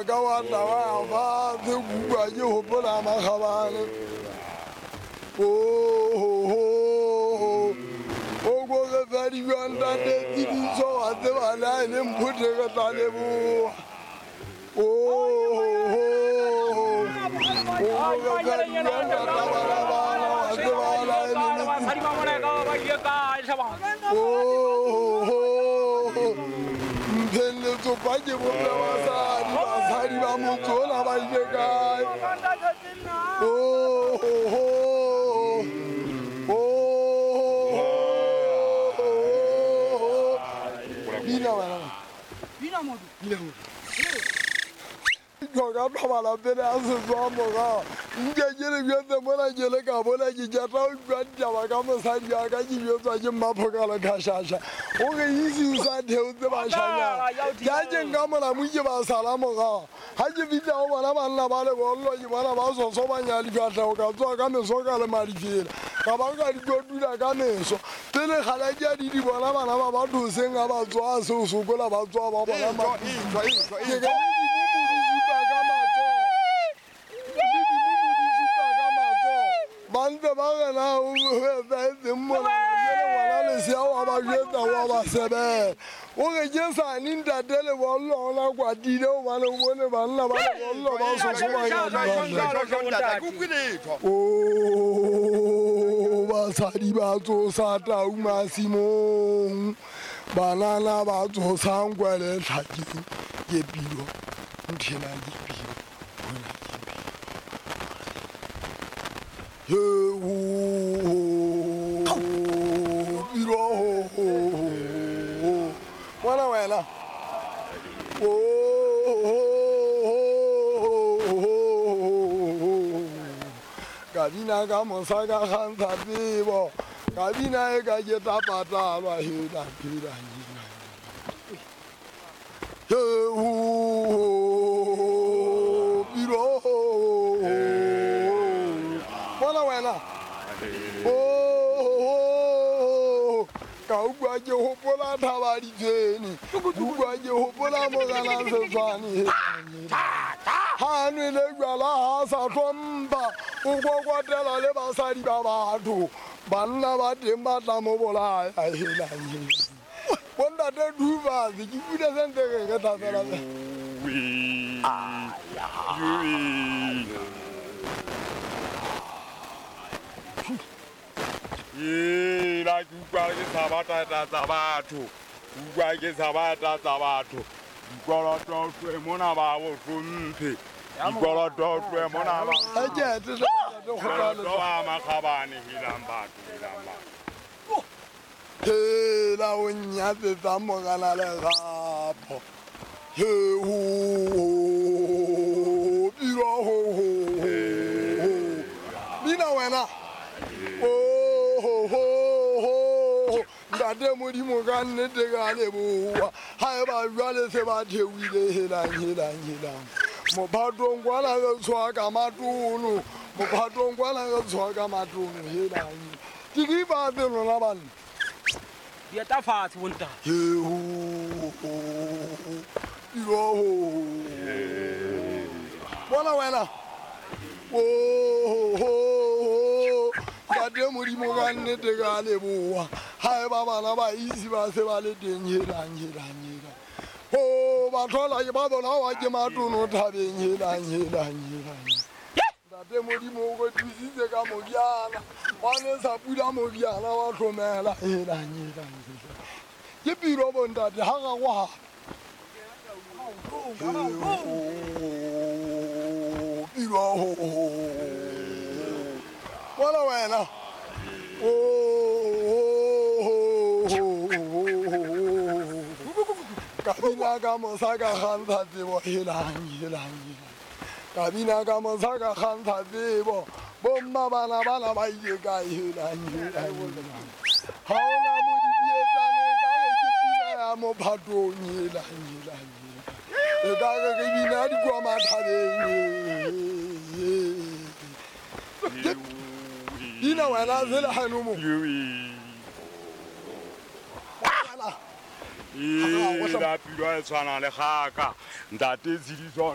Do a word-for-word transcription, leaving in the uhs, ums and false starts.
wa ka wa tla wa fatshe utlwa ke hopola makgabane. Oh, o go re fa dijo ntate Tshidiso wa tseba le ha e le mphothe re tla leboha. Oh, o go re fa dijo ntate bana bana wa tseba le ha e le Oh, mpheng letsopa ke bomme basadi, basadi ba motse ona ba ile kae? Oh, oh, bina bana. Bina modu. Bina modu. Ka thobala pele a setswa morao. Nke ke le jwetse mona ke le ka bona ke jata ho utlwa ditaba ka mosadi wa ka ke jwetswa ke Mmaphokalo Khashasha. O re isi o sa theotse bashanyana. Ke a ke nka molamu ke ba sala morao. Ha ke fihla ho bona banna ba lebollo ke bona ba sosobanya difahleho ka tsoha ka meso ka le madifela. Ka ba ka di kotula ka meso. Pele kgale ke a di di bona bana ba batho hoseng ha ba tsoha seo sokola ba tsoha ba bona ma. Ke ka ka matsoho. Ba ntse ba re na o etsahetseng mona jwale ngwana lesea wa ba jwetsa wa ba sebela. O re ke sane ntate lebollo ona kwatile hobane o bone banna ba lebollo ba sosobanya difahleho. Oh, basadi ba tsosa tau masimong, banana ba tsosang kwele tlhakeng. Ke pilo nthena ke pilo bona ke pilo. He ho pilo bona wena. Oh, ka bina ka mosa ka kgantsha tsebo, ka bina e ka ke tla patalwa hela phela. He ho pilo bona wena. Oh, ka utlwa ke hopola thaba ditshwene, utlwa ke hopola morena Setswane. Ha nwele jwala ha sa hlompha, o kokwatela le basadi ba batho. Banna ba teng ba tla mo bolaya hela. Bontate Duvas, ke pula sentse re re tla fela. Ee, la ke utlwa ke tshaba tata tsa batho. Utlwa ke tshaba tata tsa batho. Dikoloto tlohe mona ba bo hlomphe. Dikoloto tlohe mona ba. Dikoloto ba makgabane helang batho, helang batho. Hela o nyatsetsa morena lerapo. He ho pilo ho ho. Bina wena. Oh ho ho. Ntate Modimo ka nnete ka leboha. Ha eba jwale se ba theohile helang helang helang. Mophatong kwana re tshwa ka matono. Mophatong kwana re tshwa ka matono helang. Ke ke ba lona banna. Dieta fatshe bontate. He ho pilo ho. Bona wena. Oh ho. Ntate Modimo ka nnete ka leboha. Ha eba bana ba isi ba se ba le teng helang helang helang. Oh, ba thola ke ba bolawa ke matono thabeng helang helang helang. Ntate Modimo o re thusitse ka moriana. Wa ne sa pula moriana wa hlomela helang helang helang. Ke pilo bontate ha ga go ha. Pilo ho. Bona wena. Oh, ka bina ka mosa ka kgantsha tsebo helang helang helang. Ka bina ka mosa ka kgantsha tsebo. Bomma bana bana ba ile kae helang helang helang. Ha ona modidietsane ka re ke pina ya mophatong helang helang helang. E ka re ke bina dikwa mathabeng. Bina wena sele hano mo. Ee, la pilo e tshwana le kgaka. Ntate Tshidiso